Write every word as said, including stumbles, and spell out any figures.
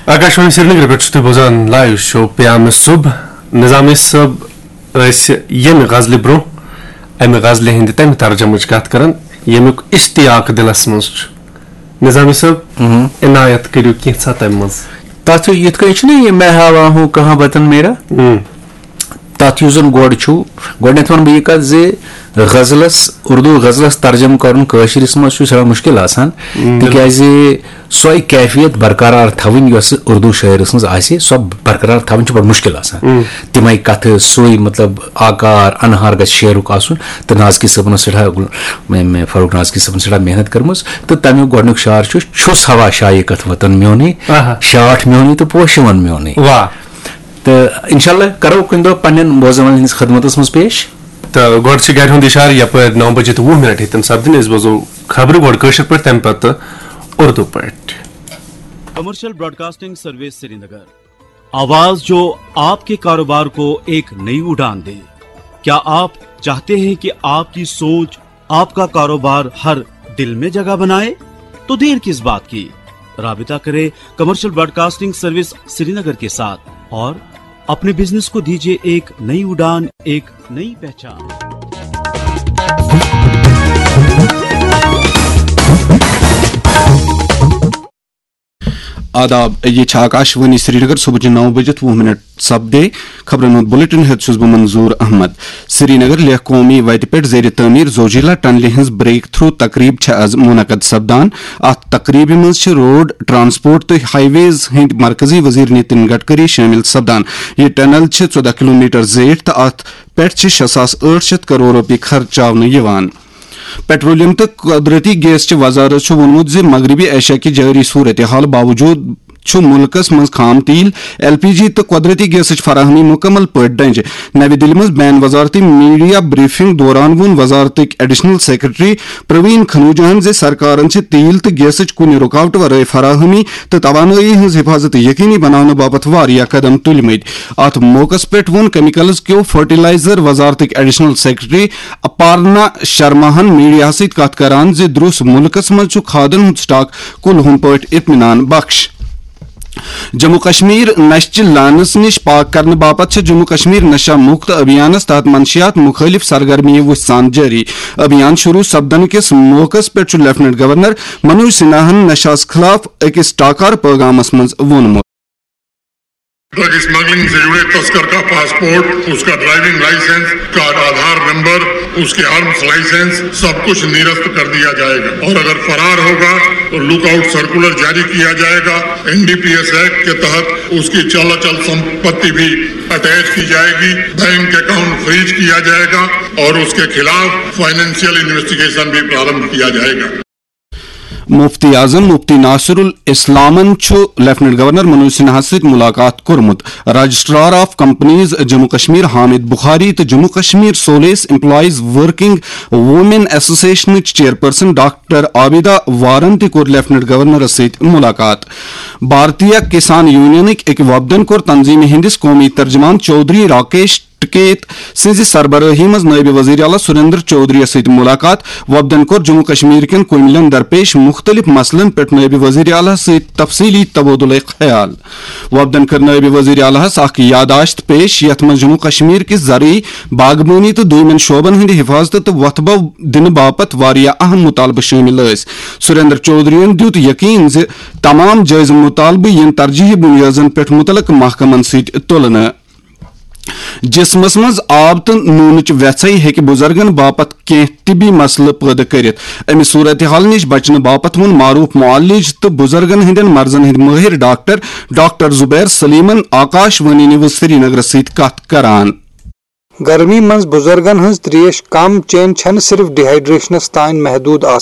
آکاشوانی سرینگر پٮ۪ٹھ چھِو تُہۍ بوزان لایو شو پیام صبح۔ نظامی صٲب ٲسۍ ییٚمہِ غزلہِ برونٛہہ اَمہِ غزلہِ ہٕنٛدِ تَمہِ ترجمٕچ کَتھ کران، ییٚمیُک اشتیاق دِلس منٛز چھُ۔ نظامی صٲب، مہم۔ عنایت کٔرِو کینٛژھا تَمہِ منٛز۔ تَتھ یِتھ کٔنۍ چھُنہ یہِ میں ہاوا ہوں کہاں وطن میرا؟ ہم۔ تَتھ یُس زَن گۄڈٕ چھُ، گۄڈٕنٮ۪تھ وَنہٕ بہٕ یہِ کَتھ زِ غزلَس، اردو غزلَس ترجمہٕ کَرُن کٲشرِس منٛز چھُ سٮ۪ٹھاہ مُشکِل آسان، بِلکُل۔ تِکیٛازِ سۄے کیفیت برقرار تھاوٕنۍ یۄس اردو شٲعرَس منٛز آسہِ، سۄ برقرار تھاوٕنۍ چھِ بَڑٕ مُشکِل آسان۔ مم۔ تِمَے کَتھٕ، سُے مطلب آکار، اَنہار گژھِ شعرُک آسُن۔ تہٕ نازکی صٲبَن ٲس سٮ۪ٹھاہ، مےٚ، مےٚ فاروق نازکی صٲبَن سٮ۪ٹھاہ محنت کٔرمٕژ۔ تہٕ تَمیُک گۄڈٕنیُک شعر چھُ، چھُس ہوا شایقت وطن میونٕے، آہا۔ شاٹھ میونٕے تہٕ پوشہِ وَن میونٕے۔ واہ۔ تہٕ انشاءاللہ کرو کُنہِ دۄہ پننٮ۪ن بوزن والٮ۪ن ہٕنٛدِس خدمتس منٛز پیش۔ تہٕ گۄڈٕ چھِ گرِ ہُنٛد اِشارٕ، یپٲرۍ نو بجے تہٕ وُہ منٹ ہیٚتن سپدٕنۍ۔ أسۍ بوزو خبرٕ گۄڈٕ کٲشِر پٲٹھۍ، تَمہِ پتہٕ اُردو پٲٹھۍ۔ Commercial Broadcasting Service Srinagar, आवाज जो आपके कारोबार को एक नई उड़ान दे। क्या आप चाहते हैं कि आपकी सोच, आपका कारोबार हर दिल में जगह बनाए? तो देर किस बात की, राबिता करें कमर्शियल ब्रॉडकास्टिंग सर्विस श्रीनगर के साथ और अपने बिजनेस को दीजिए एक नई उड़ान, एक नई पहचान। آداب، یہِ چھِ آکاشوانی سرینگر۔ صبحٕچہِ نَو بجِتھ وُہ منٹ سپدے۔ خبرن ہُنٛد بلیٹن ہیٚتھ چھُس بہٕ منظور احمد۔ سرینگر لیہہ قومی وتہِ پٮ۪ٹھ زیر تعمیٖر زوجیلا ٹنلہِ ہٕنٛز بریک تھرو تقریب چھےٚ از منعقد سپدان۔ اتھ تقریبہِ منٛز چھِ روڈ، ٹرانسپورٹ تہٕ ہائی ویز ہٕنٛدۍ مرکزی وزیر نتن گڈکری شٲمِل سپدان۔ یہِ ٹنل چھِ ژۄدہ کلومیٹر زیٖٹھ تہٕ اتھ پٮ۪ٹھ چھِ شےٚ ساس ٲٹھ شیٚتھ کرور رۄپیہِ خرچاونہٕ یِوان۔ پیٹرولیم تہٕ قدرتی گیس چہِ وزارت چھُ ووٚنمُت زِ مغربی ایشیا کہِ جٲری صورتحال باوجود چھُ مُلکَس منٛز خام تیل، ایل پی جی تہٕ قدرتی گیسٕچ فراہمی مُکمل پٲٹھۍ ڈنجہِ۔ نَوِ دِلہِ منٛز بین وزارتی میڈیا بریفنگ دوران ووٚن وزارتٕکۍ ایڈیشنل سیکرٹری پروین کھنوجاہَن زِ سرکارَن چھِ تیل تہٕ گیسٕچ کُنہِ رُکاوٹہٕ ورٲے فراہمی تہٕ توانٲیی ہٕنٛز حفاظت یقینی بناونہٕ باپتھ واریاہ قدم تُلمٕتۍ۔ اتھ موقعس پٮ۪ٹھ ووٚن کیمیکلز کیو فرٹیلائزر وزارتٕکۍ ایڈیشنل سیکرٹری اپارنا شرماہن میڈیاہس سۭتۍ کتھ کران زِ درس مُلکس منٛز چھُ کھادن ہُنٛد سٹاک کُلہُم پٲٹھۍ اطمینان بخش۔ جموں کشمیر نشہٕ چہِ لعنس نِش پاک کرنہٕ باپتھ چھِ جموں کشمیر نشہ مکت ابھیانس تحت منشیات مخٲلف سرگرمیہِ وُژھ سان جٲری۔ ابھیان شروع سپدن کِس موقعس پٮ۪ٹھ چھُ لیفٹیننٹ گورنر منوج سنہاہن نشہس خلاف أکِس ٹاکار پٲغامس منٛز ووٚنمُت۔ ڈرگ اسمگلنگ سے جڑے تسکر کا پاسپورٹ، اس کا ڈرائیونگ لائسنس، اس کا آدھار نمبر، اس کے آرمز لائسنس، سب کچھ نرست کر دیا جائے گا۔ اور اگر فرار ہوگا تو لک آؤٹ سرکولر جاری کیا جائے گا۔ N D P S act کے تحت اس کی چل اچل سمپتی بھی اٹیچ کی جائے گی، بینک اکاؤنٹ فریز کیا جائے گا اور اس کے خلاف فائنینشیل انویسٹیگیشن بھی پرارمبھ کیا جائے گا۔ مفتی اعظم مفتی ناصر الاسلامن چھُ لیفٹیننٹ گورنر منوج سنہاہس سۭتۍ ملاقات کوٚرمُت۔ Registrar of companies Jammu Kashmir Hamid Bukhari تہٕ Jammu Kashmir civil employees working women ایسوسیشنٕچ چیئرپرسن ڈاکٹر عابدہ وارن تہِ کوٚر لیفٹیننٹ گورنرس سۭتۍ ملاقات۔ بھارتیہ کسان یونینٕکۍ أکۍ وفدن کوٚر تنظیمہِ ہٕنٛدِس قومی ترجمان چودھری راکیش ٹکیت سٕنٛزِ سربرٲہی منٛز نٲیِب وزیر اعلیٰ سریندر چودھری یَس سۭتۍ ملاقات۔ وفدن کوٚر جموں کشمیر کٮ۪ن کُمِلٮ۪ن درپیش مُختٔلِف مسلن پٮ۪ٹھ نٲیِب وزیر اعلیٰ سۭتۍ تفصیٖلی تبادلہٕ خیال۔ وفدن کٔر نٲیِب وزیر اعلیٰ ہَس اکھ یادداشت پیش، یَتھ منٛز جموں کشمیر کِس زرعی، باغبٲنی تہٕ دوٚیمٮ۪ن شعبن ہٕنٛدِ حفاظتہٕ تہٕ وۄتھٕ بو دِنہٕ باپتھ واریاہ اہم مطالبہٕ شٲمِل ٲسۍ۔ سریندر چودھری یَن دیُت یقین زِ تمام جٲیزٕ مطالبہٕ یِن ترجیحی بُنیٲدن پٮ۪ٹھ مُتعلقہٕ محکمن سۭتۍ تُلنہٕ۔ جسمس منٛز آب تہٕ نوٗنٕچ ویژھے ہیٚکہِ بُزرگن باپتھ کینٛہہ طبی مسلہٕ پٲدٕ کٔرِتھ۔ امہِ صورتحال نِش بچنہٕ باپتھ ووٚن معروف معالج تہٕ بُزرگن ہٕنٛدٮ۪ن مرضن ہٕنٛدۍ مٲہِر ڈاکٹر، ڈاکٹر زبیر سلیمن آکاش وانی نیوز سرینگرس سۭتۍ کتھ کران۔ گرمی منٛز بُزرگن ہٕنٛز تریش کم چیٚنۍ چھنہٕ صرف ڈیہائیڈریشنس تام محدود آسان۔